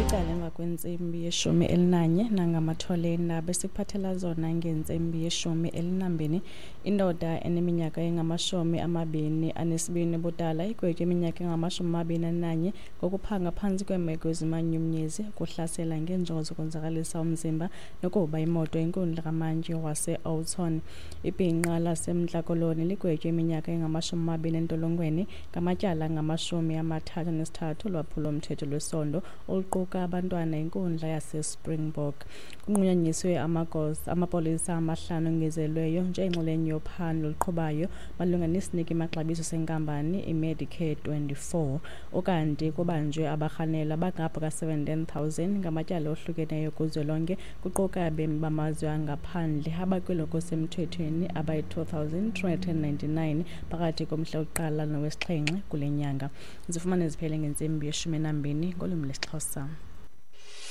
Licala emva kwentsimbi yeshumi elinanye nangamatholeni besikuphathela zona ngentsimbi yeshumi elinambini. Indoda eneminyaka engamashumi 22 ubudala igwetywe iminyaka engama-21 ngokuphanga phantsi kweemeko ezimanyumnyezi, ukuhlasela ngeenjongo zokonzakalisa umzimba nokuba imoto inkundla kamantyi wase-Oudtshoorn. Ibhinqa laseMntla Koloni ligwetywe iminyaka engama-20 entolongweni ngamatyala angama-33 olwaphulo-mthetho lwesondo oluquka abantwana inkundla yaseSpringbok. Kunqunyanyiswe amapolisa amahlanu ongezelweyo njengenxalenye yophando oluqhubayo malunga nesiniki maxabiso senkampani iMedicare 24. Ukanti kubanjwe abarhanelwa abangapha ka-17 000 ngamatyala ohlukeneyo kuzwelonke, kuquka abemi bamazwe angaphandle abakwelo kusemthethweni abayi-2 399 phakathi komhla wokuqala nowesixhenxe kule nyanga. Zifumane ziphele ngentsimbi yeshumi nambini ngolwimi lwesiXhosa.